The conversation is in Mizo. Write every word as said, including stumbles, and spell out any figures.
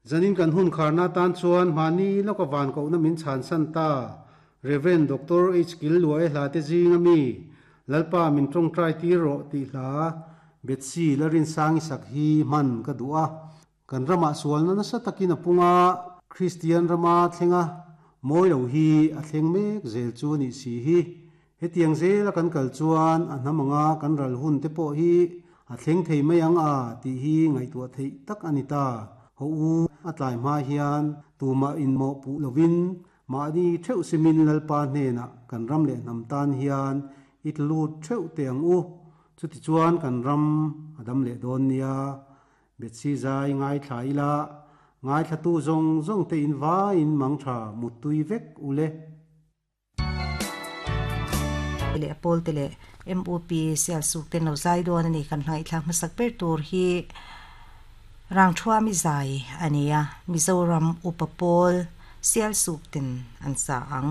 Zanin kan hun kharna tan chuan mahni lawka van kohna min chhan san ta Reverend Doctor H Kil Luai hla te zinga mi Lalpa min tawngtai tir rawh tih hla Betsy Larin sangi sak hi hman ka duh a. Kan rama sualna nasa takin a punga Christian rama thlenga mawi lo hi a thleng mek zel chu ni si hi. Hetiang zela kan kal chuan a hnamanga kan ral hun te pawh hi a thleng thei mai ang a tih hi ngaihtuah theih tak ani ta. Ho u a tlai hma hian tuma in mo pu lovin mahni theuh simin lalpa hnena kan ram leh hnam tan hian i tlut theuh te ang u. Chuti chuan kan ram adam leh dawn nia. Betsy zai ngai thla ila ngai thla tu zong zong te in vai in mang tha mutui vek ule. Le apol te le M U P sial suk ten lo zai dawn ani. Kan hnai thlak hmasak ber tur hi rang thua mi zai ania, Mizoram Upapol Sial suk ten an sa ang.